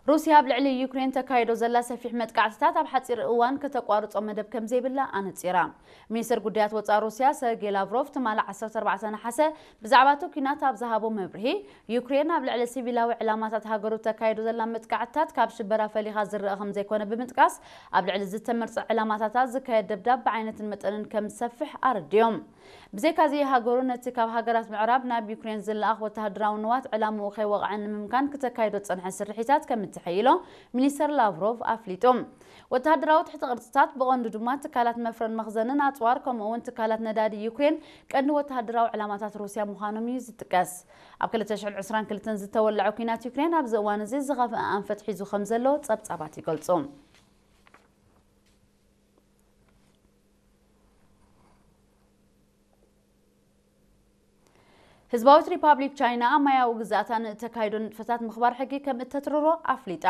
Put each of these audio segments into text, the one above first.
ሩስያ ኣብ ልዕሊ ዩክሬን ተካይዶ ዘላ ሰፊሕ መጥቃዕትታት ኣብ ሓጺር እዋን ከተቋርጾ መደብ ከም ዘይብላ ኣነጺራ። ሚኒስትር ጉዳያት ወጻኢ ሩስያ ሰርጌይ ላቭሮቭ ትማሊ ዓሰርተ ኣርባዕተ ነሓሰ ብዛዕባ እቲ ኲናት ኣብ ዝሃቦ መብርሂ፣ ዩክሬን ኣብ ልዕሊ ሲቪላዊ ዕላማታት ሃገሩ ተካይዶ ዘላ መጥቃዕትታት ካብ ሽበራ ፈሊኻ ዝረኣ ከም ዘይኮነ ብምጥቃስ፣ ኣብ ልዕሊ ዝተመርጸ ዕላማታታት ዝካየድ ደብዳብ ብዓይነትን መጠንን ከም ዝሰፍሕ ኣረዲኦም። ብዘይካዚ፣ ሃገሩ ነቲ ካብ ሃገራት ምዕራብ ናብ ዩክሬን ዝለኣኽ ወተሃደራዊ ንዋት ዕላምኡ ከይወቕዐ ንምምካን ክተካይዶ ዝጸንሐ ስርሒታት ከም እትሕይሎ ሚኒስተር ላቭሮቭ ኣፍሊጡ። ወተሃደራዊ ትሕቲ ቅርጽታት፣ ብቐንዱ ድማ ትካላት መፍረን መኽዘንን ኣጽዋር፣ ከምኡ እውን ትካላት ነዳዲ ዩክሬን ቀንዲ ወተሃደራዊ ዕላማታት ሩስያ ምዃኖም እዩ ዝጥቀስ። ኣብ ክልተ ሽሕን ዕስራን ክልተን ዝተወለዐ ኲናት ዩክሬን ኣብዚ እዋን እዚ ዝኸፍአ ኣንፈት ሒዙ ከም ዘሎ ጸብጻባት ይገልጹ። ህዝባዊት ሪፓብሊክ ቻይና ኣብ ማያዊ ግዝኣታ ንእተካይዶ ንጥፈታት ምኽባር ሕጊ ከም እተትርሮ ኣፍሊጣ።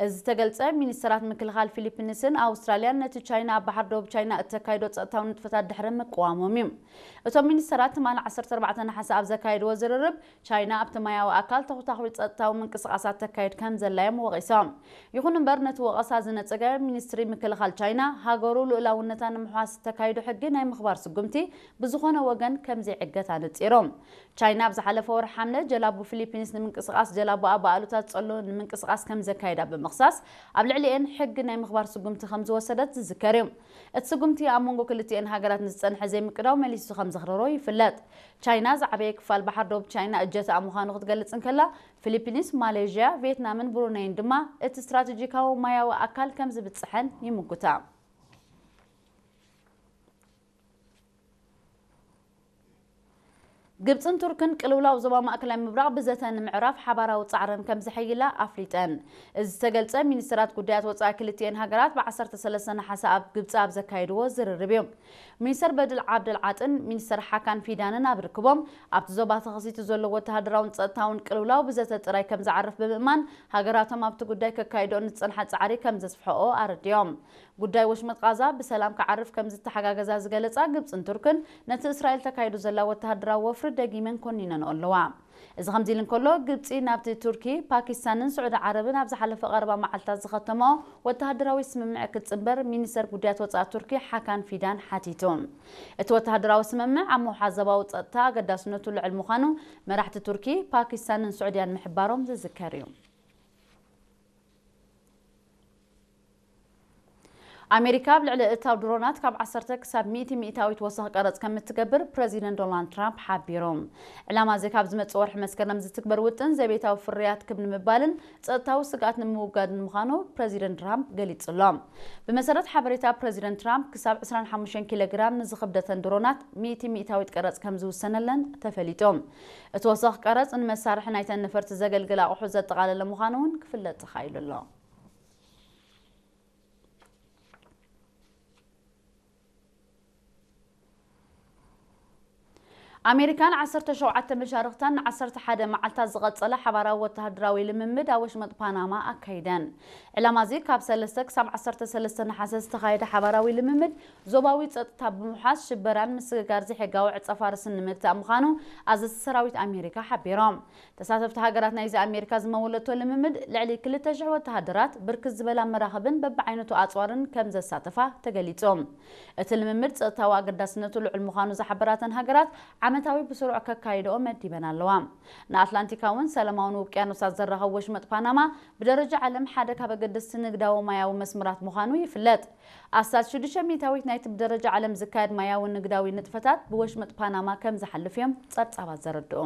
እዚ ዝተገልጸ፣ ሚኒስተራት ምክልኻል ፊሊፒንስን ኣውስትራልያን ነቲ ቻይና ኣብ ባሕሪ ደቡብ ቻይና እተካይዶ ጸጥታዊ ንጥፈታት ድሕሪ ምቅዋሞም እዩ። እቶም ሚኒስተራት ትማሊ ዓሰርተ ኣርባዕተ ነሓሰ ኣብ ዘካየድዎ ዝርርብ፣ ቻይና ኣብቲ ማያዊ ኣካል ተኹታኹቲ ጸጥታዊ ምንቅስቓሳት ተካይድ ከም ዘላ እዮም ወቒሶም። ይኹን እምበር፣ ነቲ ወቐሳ ዝነጸገ ሚኒስትሪ ምክልኻል ቻይና፣ ሃገሩ ልኡላውነታ ንምሕዋስ እተካይዶ ሕጊ ናይ ምኽባር ስጉምቲ ብዝኾነ ወገን ከም ዘይዕገት ኣነጺሩ። ቻይና ኣብ ዝሓለፈ ወርሒ ሓምለ፣ ጀላቡ ፊሊፒንስ ንምንቅስቓስ ጀላቡኣ ብኣሉታ ዝጸሎ ንምንቅስቓስ ከም ዘካየዳ ብምኽሳስ፣ ኣብ ልዕሊኤን ሕጊ ናይ ምኽባር ስጉምቲ ከም ዝወሰደት ዝዝከር እዩ። እቲ ስጉምቲ ኣብ መንጎ ክልቲኤን ሃገራት ንዝጸንሐ ዘይምቅዳው መሊሱ ከም ዘኽረሮ ይፍለጥ። ቻይና ዝዓበየ ክፋል ባሕሪ ደቡብ ቻይና እጀታኣ ምዃኑ ክትገልጽ እንከላ፣ ፊሊፒንስ፣ ማሌዥያ፣ ቪየትናምን ብሩነይን ድማ እቲ ስትራቴጂካዊ ማያዊ ኣካል ከም ዝብጽሐን ይምጉታ። ግብጽን ቱርክን ቅልውላው ዞባ ማእከላይ ምብራቕ ብዘተ ንምዕራፍ ሓባራዊ ጻዕረን ከም ዘሐይላ ኣፍሊጠን። እዚ ዝተገልጸ፣ ሚኒስትራት ጉዳያት ወጻኢ ክልቲኤን ሃገራት ብ ዓሰርተ ሰለስተ ነሓሰ ኣብ ግብጺ ኣብ ዘካየድዎ ዝርርብ እዩ። ሚኒስተር በድል ዓብደል ዓጥን ሚኒስተር ሓካን ፊዳንን ኣብ ርክቦም፣ ኣብቲ ዞባ ተኸሲቱ ዘሎ ወተሃደራውን ጸጥታውን ቅልውላው ብዘተ ጥራይ ከም ዝዓርፍ ብምእማን፣ ሃገራቶም ኣብቲ ጉዳይ ከካይድኦ ንዝጸንሓ ጻዕሪ ከም ዘስፍሕኦ ኣረዲኦም። ጉዳይ ወሽመጥ ቃዛ ብሰላም ክዓርፍ ከም ዝተሓጋገዛ ዝገለጻ ግብጽን ቱርክን፣ ነቲ እስራኤል ተካይዱ ዘላ ወተሃደራዊ ወፍሪ ደጊመን ኮኒነንኦ ኣለዋ። እዚ ከምዚ ኢሉ እንከሎ፣ ግብጺ ናብቲ ቱርኪ፣ ፓኪስታንን ስዑዲ ዓረብን ኣብ ዝሓለፈ ቀረባ መዓልታት ዝኸተመኦ ወተሃደራዊ ስምምዕ ክትጽንበር ሚኒስተር ጉዳያት ወጻኢ ቱርኪ ሓካን ፊዳን ሓቲቱ። እቲ ወተሃደራዊ ስምምዕ ኣብ ምውሓዝ ዞባዊ ጸጥታ ኣገዳስነቱ ልዑል ምዃኑ መራሕቲ ቱርኪ፣ ፓኪስታንን ስዑድያን ምሕባሮም ዝዝከር እዩ። ኣሜሪካ ኣብ ልዕሊ እታው ድሮናት ካብ ዓሰርተ ክሳብ ሚእቲ ሚእታዊት ወሰኽ ቀረጽ ከም እትገብር ፕረዚደንት ዶናልድ ትራምፕ ሓቢሩ። ዕላማ እዚ ካብ ዝመጽእ ወርሒ መስከረም ዝትግበር ውጥን ዘቤታዊ ፍርያት ክብ ንምባልን ጸጥታዊ ስግኣት ንምውጋድን ምዃኑ ፕረዚደንት ትራምፕ ገሊጹ ኣሎ። ብመሰረት ሓበሬታ ፕረዚደንት ትራምፕ፣ ክሳብ ዕስራን ሓሙሽተን ኪሎ ግራም ንዝኽብደተን ድሮናት ሚእቲ ሚእታዊት ቀረጽ ከም ዝውሰነለን ተፈሊጡ። እቲ ወሰኽ ቀረጽ ንመሳርሒ ናይተን ነፈርቲ ዘገልግል ኣቑሑ ዘጠቓለለ ምዃኑ እውን ክፍለጥ ተኻኢሉ ኣሎ። ኣሜሪካን ዓሰርተ ሸውዓተ መሻርኽታን ንዓሰርተ ሓደ መዓልታት ዝቐጸለ ሓባራዊ ወተሃደራዊ ልምምድ ኣብ ወሽመጥ ፓናማ ኣካይደን። ዕላማ እዚ ካብ ሰለስተ ክሳብ ዓሰርተ ሰለስተ ነሓሰ ዝተኻየደ ሓባራዊ ልምምድ፣ ዞባዊ ጸጥታ ብምውሓስ ሽበራን ምስግጋር ዘይሕጋዊ ዕጸ ፋርስን ንምግታእ ምዃኑ ኣዘዝቲ ሰራዊት ኣሜሪካ ሓቢሮም። ተሳተፍቲ ሃገራት ናይዚ ኣሜሪካ ዝመወለቶ ልምምድ፣ ልዕሊ ክልተ ሽሕ ወተሃደራት፣ ብርክት ዝበላ መራኽብን በብዓይነቱ ኣጽዋርን ከም ዘሳተፋ ተገሊጹ። እቲ ልምምድ ጸጥታዊ ኣገዳስነቱ ልዑል ምዃኑ ዝሓበራተን ሃገራት፣ ዓመታዊ ብስሩዕ ከካይድኦ መዲበን ኣለዋ። ንኣትላንቲካውን ሰላማውን ውቅያኖሳት ዘራኸቡ ወሽመጥ ፓናማ፣ ብደረጃ ዓለም ሓደ ካብ ኣገደስቲ ንግዳዊ ማያዊ መስመራት ምዃኑ ይፍለጥ። ኣስታት ሽዱሽተ ሚእታዊት ናይቲ ብደረጃ ዓለም ዝካየድ ማያዊ ንግዳዊ ንጥፈታት ብወሽመጥ ፓናማ ከም ዝሓልፍ እዮም ጸብጻባት ዘረድኡ።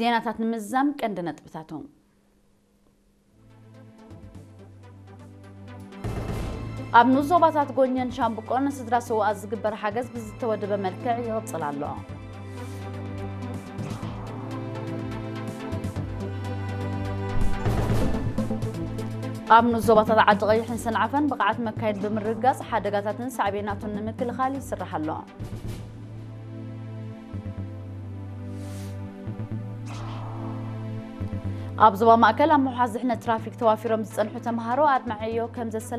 ዜናታት ንምዝዛም ቀንዲ ነጥብታቶም። ኣብ ንኡስ ዞባታት ጎኘን ሻምብቆን ንስድራ ሰውኣት ዝግበር ሓገዝ ብዝተወደበ መልክዕ ይቕጽል ኣሎ። ኣብ ንኡስ ዞባታት ዓዲ ቀይሕን ሰንዓፈን ብቕዓት መካየድ ብምርግጋጽ ሓደጋታትን ሳዕቤናቱን ንምክልኻል ይስራሕ ኣሎ። ኣብ ዞባ ማእከል ኣብ ምውሓስ ድሕነት ትራፊክ ተዋፊሮም ዝጸንሑ ተምሃሮ ኣድማዒ ዕዮ ከም ዘሰላ